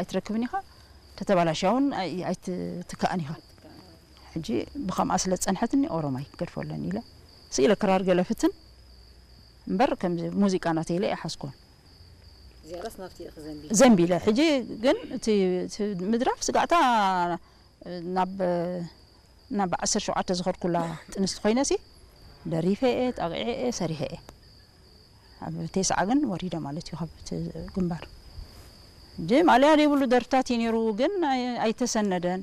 ኣይትረክብን ኢኻ፣ ተተባላሽያ እውን ኣይ- ኣይትትካእን ኢኻ። ሕጂ ብኸምኣ ስለ ዝጸንሐትኒ ኦሮማይ ክገድፎ ኣለኒ ኢለ ስኢለ ክራር ገለ ፍትን እምበር ከምዚ ሙዚቃ ናተይ ኢለ ኣይሓዝኩን። ዝያዳስ ናብቲ ኢኺ ዘንቢ ዘንቢለ ሕጂ ግን እቲ እቲ ምድራፍ ስጋዕታ ናብ ናብ ዓሰርተ ሸውዓተ ዝኸድኩላ ጥንስቲ ኮይነሲ ደሪፈ እየ፣ ጣቂዐ እየ፣ ሰሪሐ እየ። ኣብ ቴስዓ ግን ወሪደ ማለት እዩ ካብ እቲ ግንባር። ሕጂ ማልያ ዘይብሉ ደርፍታት እዩ ነይሩ ግን ኣይ- ኣይተሰነደን።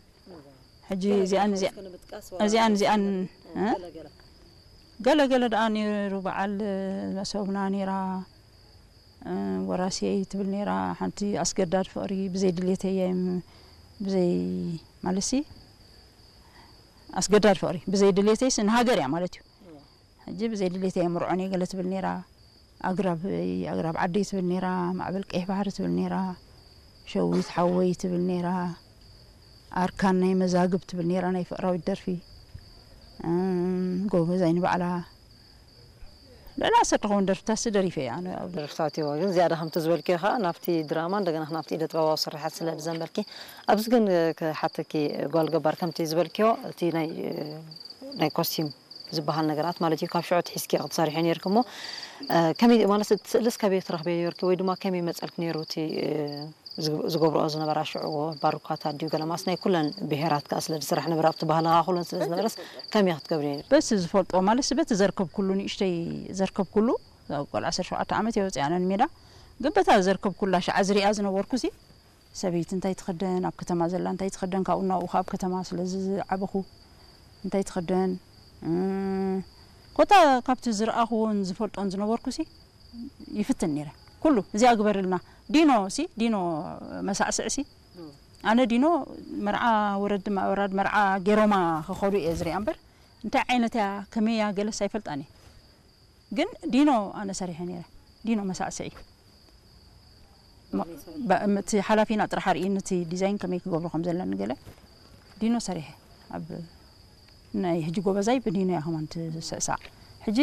ሕጂ እዚኣን እዚኣ- እስከ ንምጥቃስ እዚኣን እዚኣን እ? ገለ ገለ ገለ ገለ ደኣ ነይሩ በዓል መሰብና ነይራ፣ እ፣ ወራስየይ ትብል ነይራ። ሓንቲ ኣስገዳድ ፍቕሪ ብዘይ ድሌተይ እየ ም- ብዘይ ማለትሲ ኣስገዳድ ፍቕሪ ብዘይ ድሌተይስ ንሃገር እያ ማለት እዩ። ሕጂ ብዘይ ድሌተይ እየ ምርዖን እየ ገለ ትብል ነይራ። ኣግራብ ኣግራብ ዓደይ ትብል ነይራ፣ ማዕበል ቀይሕ ባሕሪ ትብል ነይራ፣ ሸዊት ሓወይ ትብል ነይራ፣ ኣርካን ናይ መዛግብ ትብል ነይራ ናይ ፍቕራዊት ደርፊ፣ እም፣ ጎበዛይ ንባዕላ ልዕሊ ዓሰርተ ኸውን ደርፍታትሲ ደሪፈ እየ ኣነ ኣብ ደርፍታት እዮ ግን ዝያዳ ከምቲ ዝበልክዮ ከዓ ናብቲ ድራማ እንደገና ናብቲ ኢደ ጥበባዊ ስርሓት ስለ ዝዘንበልኪ ኣብዚ ግን ክሓተኪ ጓል ገባር ከምቲ ዝበልክዮ እቲ ናይ ናይ ኮስቲም ዝበሃል ነገራት ማለት እዩ ካብ ሽዑ ትሒዝኪ ክትሰርሒ ነርኪ እሞ ከመይ ማለት እቲ ስእልስ ከበይ ትረኽበ ነርኪ ወይ ድማ ከመይ መፀልክ ነይሩ እቲ ዝገብርኦ ዝነበራ ሽዑ ባሩካታት ድዩ ገለማስ ናይ ኩለን ብሄራት ከዓ ስለ ዝስራሕ ነበረ ኣብቲ ባህልኻ ኩለን ስለ ዝነበረስ ከመይ ክትገብሪ ነይሩ በቲ ዝፈልጦ ማለት በቲ ዘርከብኩሉ ንእሽተይ ዘርከብኩሉ ቆልዓ ዓሰርተ ሸውዓተ ዓመት እየ ወፂኣ ነን ሜዳ ግን በታ ዘርከብኩላ ሸዓ ዝሪኣ ዝነበርኩ ሲ ሰበይቲ እንታይ ትኽደን ኣብ ከተማ ዘላ እንታይ ትኽደን ካብኡ ናብኡ ካብ ከተማ ስለ ዝዓበኹ እንታይ ትኽደን ኮታ ካብቲ ዝረኣኽዎን ዝፈልጦን ዝነበርኩ ሲ ይፍትን ነይረ ኩሉ እዚኣ ግበርልና ዲኖ ሲ ዲኖ መሳዕስዕ ሲ ኣነ ዲኖ መርዓ ወረድ ማእበራድ መርዓ ገይሮማ ክኸዱ እየ ዝሪኣ እምበር እንታይ ዓይነት እያ ከመይ እያ ገለስ ኣይፈልጣን እየ ግን ዲኖ ኣነ ሰሪሐ ነይረ ዲኖ መሳዕስዒ እቲ ሓላፊና ጥራሕ ኣርእየኒ እቲ ዲዛይን ከመይ ክገብሮ ከም ዘለኒ ገለ ዲኖ ሰሪሐ ኣብ ናይ ሕጂ ጎበዛይ ብዲኖ እያ ከማን ትስዕሳዕ ሕጂ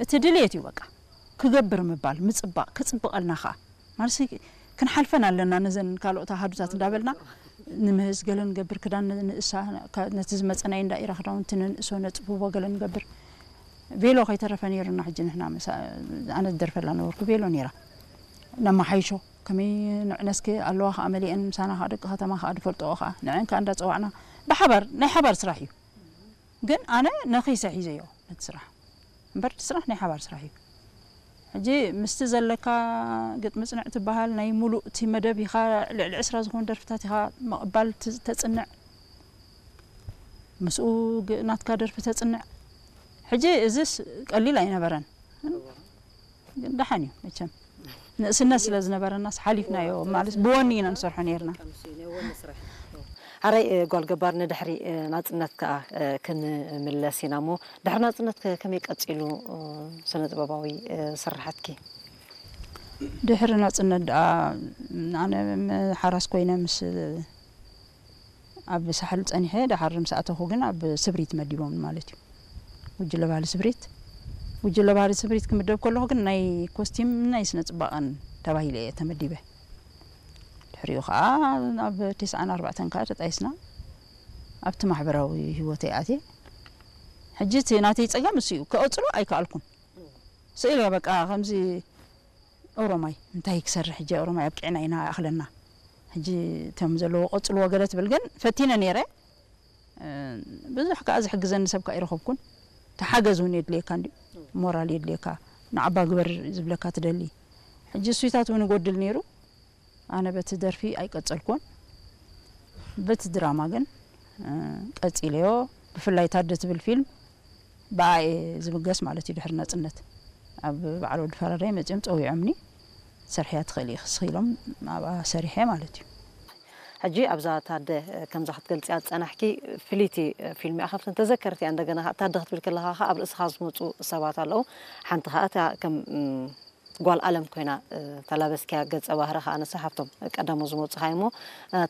እቲ ድልየት እዩ በቃ ክገብር ምባል ምፅባቕ ክፅብቐልና ከዓ ማለት ክንሓልፈን ኣለና ነዘን ካልኦት ኣሃዱታት እንዳበልና ንምህዝ ገለ ንገብር ክዳን ንእሳ ነቲ ዝመፀናይ እንዳኢራ ክዳውንቲ ንንእሶ ነፅብቦ ገለ ንገብር ቬሎ ከይተረፈ ነይሩና ሕጂ ንሕና ኣነ ዝደርፈላ ነበርኩ ቬሎ ነይራ ነማሓይሾ ከመይ ንዕነስኪ ኣለዋ ከዓ መሊአን ምሳና ከዓ ደቂ ከተማ ከዓ ዝፈልጥኦ ከዓ ንዐን ከዓ እንዳፀዋዕና ብሓባር ናይ ሓባር ስራሕ እዩ ግን ኣነ ነኺሰ ሒዘዮ ነቲ ስራሕ እምበር እቲ ስራሕ ናይ ሓባር ስራሕ እዩ ሕጂ ምስቲ ዘለካ ግጥሚ ፅንዕ ትበሃል ናይ ሙሉእ እቲ መደብ ኢኻ ልዕሊ ዕስራ ዝኾኑ ደርፍታት ኢኻ ምቕባል ተፅንዕ ምስኡ ናትካ ደርፊ ተፅንዕ ሕጂ እዚስ ቀሊል ኣይነበረን ግን ደሓን እዩ መቸም ንእስነት ስለ ዝነበረናስ ሓሊፍናዮ ማለት ብወኒ ኢና ንሰርሖ ነርና ሓራይ ጓል ገባር ንድሕሪ ናፅነት ከዓ ክንምለስ ኢና እሞ ድሕሪ ናፅነት ከመይ ቀፂሉ ስነ ጥበባዊ ስራሓትኪ ድሕሪ ናፅነት ደኣ ኣነ ሓራስ ኮይነ ምስ ኣብ ሳሕል ጸኒሐ ደሓር ምስ ኣተኹ ግን ኣብ ስብሪት መዲቦም ማለት እዩ። ጉጅለ ባህሊ ስብሪት ጉጅለ ባህሊ ስብሪት ክምደብ ከለኹ ግን ናይ ኮስቲም ናይ ስነ ጽባቐን ተባሂለ እየ ተመዲበ። ድሕሪኡ ከዓ ኣብ ተስዓን ኣርባዕተን ከዓ ተጣይስና ኣብቲ ማሕበራዊ ህይወተይ ኣትየ። ሕጂ እቲ ናተይ ጸገም እሱ እዩ። ክቐጽሎ ኣይከኣልኩን። ስኢለ በቃ ከምዚ ኦሮማይ እንታይ ክሰርሕ ሕጂ ኦሮማይ ኣብቂዕና ኢና ይኣኽለና ሕጂ እቶም ዘለዎ ቀጽልዎ ገለ ትብል ግን ፈቲነ ነይረ ብዙሕ ከዓ ዝሕግዘኒ ሰብ ከዓ ይረኸብኩን ተሓገዝ እውን የድልየካ እንዲ ሞራል የድልየካ ንዓባ ግበር ዝብለካ ትደሊ ሕጂ እሱይታት እውን ይጎድል ነይሩ ኣነ በቲ ደርፊ ኣይቀጸልኩን በቲ ድራማ ግን ቀጺለዮ ብፍላይ ታደ ትብል ፊልም ብኣየ ዝብገስ ማለት እዩ ድሕሪ ናጽነት ኣብ በዓል ወዲ ፈራዳይ መጺኦም ጸዊዖምኒ ሰርሕያ ትኽእል ኢኺ ኢሎም ኣብኣ ሰሪሐ ማለት እዩ። ሕጂ ኣብዛ ታደ ከምዛ ክትገልፅያ ዝፀናሕኪ ፍልይቲ ፊልም እያ ካብተን ተዘከርቲ እያ እንደገና ታደ ክትብል ከለካ ከዓ ኣብ ርእስኻ ዝመፁ ሰባት ኣለዉ ሓንቲ ከዓ እታ ከም ጓል ኣለም ኮይና ተላበስኪያ ገፀ ባህሪ ከዓ ንሳ ካብቶም ቀዳሞ ዝመፁኻ እሞ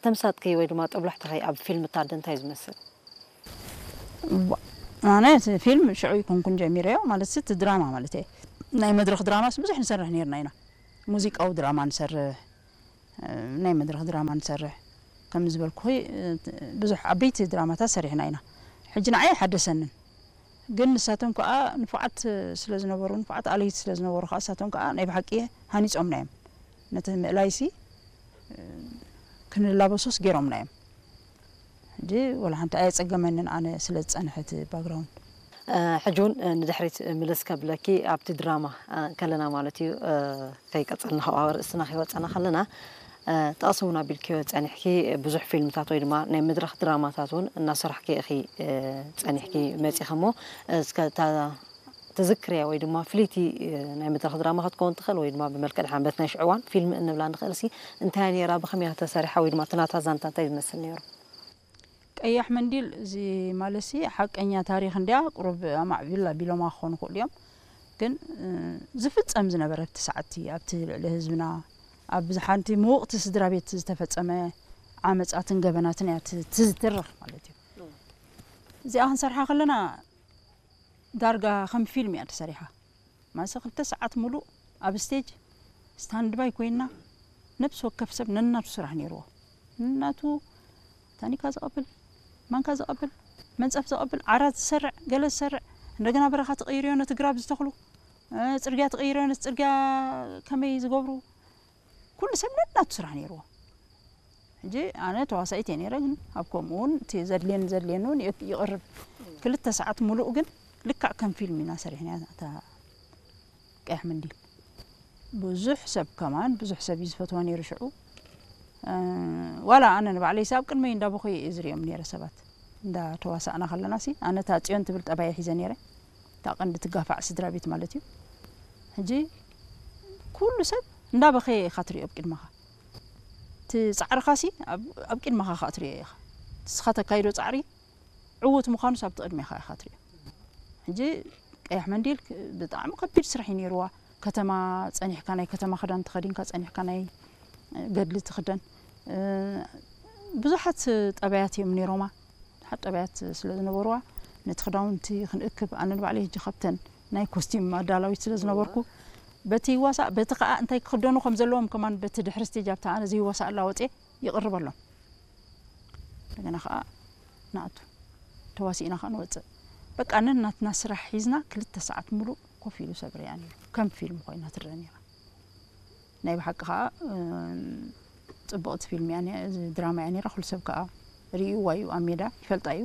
ተምሳጥኪ ወይ ድማ ጥብላሕትኺ ኣብ ፊልም ታደ እንታይ ዝመስል ኣነ እቲ ፊልም ሽዑ ይኮንኩን ጀሚረዮ ማለት እቲ ድራማ ማለት እየ ናይ መድረክ ድራማስ ብዙሕ ንሰርሕ ነርና ኢና ሙዚቃዊ ድራማ ንሰርሕ ናይ መድረኽ ድራማ ንሰርሕ። ከም ዝበልኩ ብዙሕ ዓበይቲ ድራማታት ሰሪሕና ኢና። ሕጂ ንዓይ ኣይሓደሰንን፣ ግን ንሳቶም ከዓ ንፉዓት ስለ ዝነበሩ፣ ንፉዓት ኣለይቲ ስለ ዝነበሩ ከዓ ንሳቶም ከዓ ናይ ብሓቂ ሃኒፆምና እዮም። ነቲ ምእላይሲ ክንላበሶስ ገይሮምና እዮም። ሕጂ ወላ ሓንቲ ኣየፀገመንን ኣነ ስለ ዝፀንሐ እቲ ባክግራውንድ። ሕጂ እውን ንድሕሪት ምልስ ከብለኪ ኣብቲ ድራማ ከለና ማለት እዩ። ከይቀጸልና ካብኣ ርእስና ከይወጸና ከለና ጠቕሲ እውን ኣቢልክዮ ጸኒሕኪ ብዙሕ ፊልምታት ወይ ድማ ናይ መድረኽ ድራማታት እውን እናሰራሕኪ ኢኺ ጸኒሕኪ መጺኺ እሞ እስከ እታ ትዝክርያ ወይ ድማ ፍልይቲ ናይ መድረኽ ድራማ ክትከውን ትኽእል ወይ ድማ ብመልክዕ ድሓን በቲ ናይ ሽዑ እዋን ፊልም እንብላ ንኽእል ሲ እንታይ እያ ነይራ ብኸመይ እያ ተሰሪሓ ወይ ድማ እቲ ናታ ዛንታ እንታይ ዝመስል ነይሩ? ቀያሕ መንዲል እዚ ማለትሲ ሓቀኛ ታሪኽ እንድያ ቁሩብ ኣማዕቢል ኣቢሎማ ክኾኑ ይኽእሉ እዮም። ግን ዝፍጸም ዝነበረ ኣብቲ ሰዓትቲ ኣብቲ ልዕሊ ህዝብና ኣብ ሓንቲ ምውቕቲ ስድራ ቤት ዝተፈጸመ ዓመጻትን ገበናትን እያ ትዝትርኽ ማለት እዩ። እዚኣ ክንሰርሓ ከለና ዳርጋ ከም ፊልም እያ ተሰሪሓ። ማሰ ክልተ ሰዓት ሙሉእ ኣብ ስቴጅ ስታንድባይ ኮይና ነብሲ ወከፍ ሰብ ነናቱ ስራሕ ነይርዎ። ነናቱ ታኒካ ዝቐብል፣ ማንካ ዝቐብል፣ መንፀፍ ዝቐብል፣ ዓራት ዝሰርዕ፣ ገለ ዝሰርዕ፣ እንደገና በረኻ ትቕይርዮ ነቲ ግራብ ዝተኽሉ፣ ጽርግያ ትቕይርዮ ነቲ ጽርግያ ከመይ ዝገብሩ፣ ኩሉ ሰብ ነናቱ ስራሕ ነይርዎ። ሕጂ ኣነ ተዋሳኢት እየ ነይረ፣ ግን ኣብ ከምኡ እውን እቲ ዘድልየኒ ዘድልየኒ እውን ይቕርብ። ክልተ ሰዓት ሙሉእ ግን ልክዕ ከም ፊልም ኢና ሰሪሕና እታ ቀያሕ መንዲል። ብዙሕ ሰብ ከማን ብዙሕ ሰብ እዩ ዝፈትዋ ነይሩ ሽዑ። ዋላ ኣነ ንባዕለይሲ ኣብ ቅድመይ እንዳበኹየ እየ ዝሪኦም ነይረ ሰባት እንዳተዋሳእና ከለና ሲ ኣነ እታ ፅዮን ትብል ጠባየ ሒዘ ነይረ። እታ ቀንዲ ትጋፋዕ ስድራ ቤት ማለት እዩ። ሕጂ ኩሉ ሰብ እንዳበኸየ ኢኻ ትሪኦ ኣብ ቅድመኻ። እቲ ፃዕርኻ ሲ ኣብ ቅድመኻ ከዓ ትሪኦ ኢኻ። እስኻ ተካይዶ ፃዕሪ ዕዉት ምዃኑስ ኣብቲ ቅድሜኻ ኢኻ ትሪኦ። ሕጂ ቀያሕ መንዲል ብጣዕሚ ከቢድ ስራሕ እዩ ነይርዋ። ከተማ ፀኒሕካ ናይ ከተማ ክዳን ተኸዲንካ ፀኒሕካ ናይ ገድሊ ትኽደን ብዙሓት ጠባያት እዮም ነይሮማ። ብዙሓት ጠባያት ስለ ዝነበርዋ ነቲ ክዳውንቲ ክንእክብ ኣነ ንባዕለይ ሕጂ ካብተን ናይ ኮስቲም ኣዳላዊት ስለ ዝነበርኩ በቲ ይዋሳእ በቲ ከዓ እንታይ ክኽደኑ ከም ዘለዎም ከማን በቲ ድሕሪ ስቴጅ ኣብታ ኣነ ዘይዋሳእ ኣላ ወፅየ ይቕርበሎም። እንደገና ከዓ ንኣቱ ተዋሲእና ከዓ ንወፅእ። በቃ ነናትና ስራሕ ሒዝና ክልተ ሰዓት ሙሉእ ኮፍ ኢሉ ሰብ ሪኣ ነይሩ። ከም ፊልም ኮይና ትረአ ነይራ። ናይ ብሓቂ ከዓ ፅብቕቲ ፊልም እያ ድራማ እያ ነይራ። ኩሉ ሰብ ከዓ ርእይዋ እዩ ኣብ ሜዳ ይፈልጣ እዩ።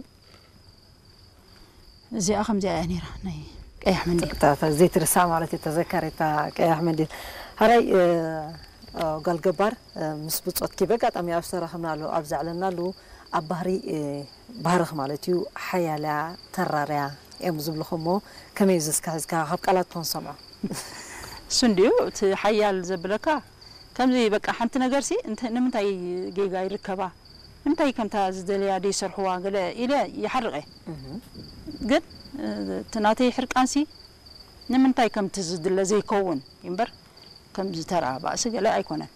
እዚኣ ከምዚኣ እያ ነይራ ናይ ቀያሕ መንዲል። ዘይትርሳ ማለት እዩ ተዘካሪታ ቀያሕ መንዲል። ሓራይ ጓል ገባር ምስ ብፆትኪ በጋጣሚ ኣብ ዝተራኸብናሉ ኣብ ዘዕለናሉ ኣብ ባህሪ ባህርኽ ማለት እዩ ሓያልያ ተራርያ እዮም ዝብልኹ እሞ ከመይ ዝስካ ሒዝካ ካብ ቃላት ኮን ሰምዖ እሱ እንድዩ እቲ ሓያል ዘብለካ ከምዚ በቃ ሓንቲ ነገር ሲ ንምንታይ ጌጋ ይርከባ ንምንታይ ከምታ ዝደለያ ደይሰርሕዋ ገለ ኢለ ይሓርቐ ግን እቲ ናተይ ሕርቃንሲ ንምንታይ ከምቲ ዝድለ ዘይከውን እምበር ከምዚ ተራ ባእሲ ገለ ኣይኮነን።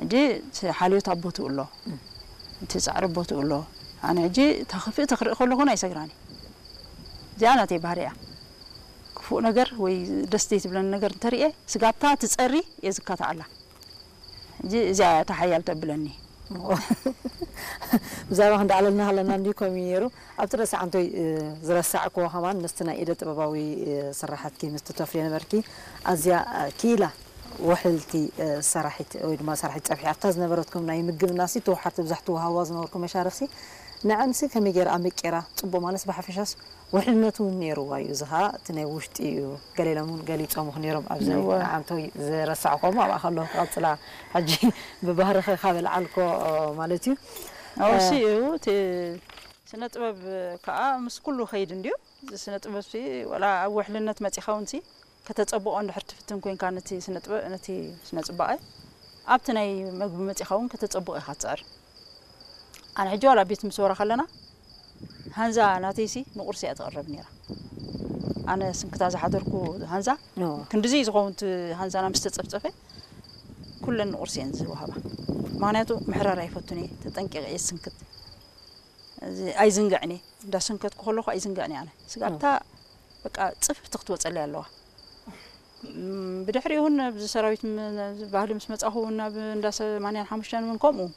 ሕጂ እቲ ሓልዮት ኣብ ቦትኡ ኣሎ፣ እቲ ፃዕሪ ኣብ ቦትኡ ኣሎ። ኣነ ሕጂ እታ ክፍእቲ ክርኢ ከለኹ ኣይሰግራን እየ። እዚኣ ናተይ ባህሪ እያ። ክፉእ ነገር ወይ ደስ ዘይትብለኒ ነገር እንተርእየ ስጋብታ ትፀሪ እየ ዝካትዓላ። ሕጂ እዚኣ እያ እታ ሓያል ተብለኒ። ብዛዕባ ክንዳዕለልና ከለና እንዲ ከምኡ ነይሩ ኣብቲ ርእሲ ዓንቶይ ዝረሳዕክዎ ከማን ምስቲ ናይ ኢደ ጥበባዊ ስራሓትኪ ምስቲ ተፍርዮ ነበርኪ ኣዝያ ክኢላ ውሕልቲ ሰራሒት ወይ ድማ ሰራሒት ጸብሒ ኣብታ ዝነበረትኩም ናይ ምግብናሲ ተወሓርቲ ብዛሕ ትወሃዋ ዝነበርኩም መሻርኽሲ ንዐንሲ ከመይ ገይራ ኣመቂራ ጽቡቕ ማለት ብሓፈሻስ ውሕልነቱ እውን ነይርዋ እዩ እዚ ኸዓ እቲ ናይ ውሽጢ እዩ ገለ ኢሎም እውን ገሊጾምኹ ነይሮም ኣብዚ ዓንቶይ ዝረሳዕኮም ኣብኣ ከለኹ ክቐጽላ ሕጂ ብባህርኸ ካብ ኣልዓልኮ ማለት እዩ ኣውሲ እዩ እቲ ስነ ጥበብ ከዓ ምስ ኩሉ ከይድ እንድዩ እዚ ስነ ጥበብ ሲ ወላ ኣብ ውሕልነት መፂኻ እውን ሲ ከተፀብቆ እንድሕር ትፍትን ኮይንካ ነቲ ስነ ጥበብ ነቲ ስነ ፅባቐ ኣብቲ ናይ መግቢ መፂኻ እውን ከተፀብቆ ኢኻ ትፅዕር ኣነ ሕጂ ዋላ ቤት ምስ ወራ ከለና ሃንዛ ናተይሲ ንቁርሲ እያ ትቕረብ ነይራ ኣነ ስንክታ ዝሓደርኩ ሃንዛ ክንድዚ ዝኸውን ሃንዛና ምስ ተፀፍፀፈ ኩለን ንቁርሲ እየን ዝወሃባ ምክንያቱ ምሕራር ኣይፈቱን እየ ተጠንቂቐ እየ ስንክት ኣይዝንግዕን እየ እንዳሰንከትኩ ከለኹ ኣይዝንግዕን እየ ኣነ ስጋብታ በቃ ፅፍፍቲ ክትወፀለይ ኣለዋ ብድሕሪኡ እውን ኣብዚ ሰራዊት ባህሊ ምስ መፃኹ እውን ናብ እንዳ ሰማንያን ሓሙሽተን እውን ከምኡ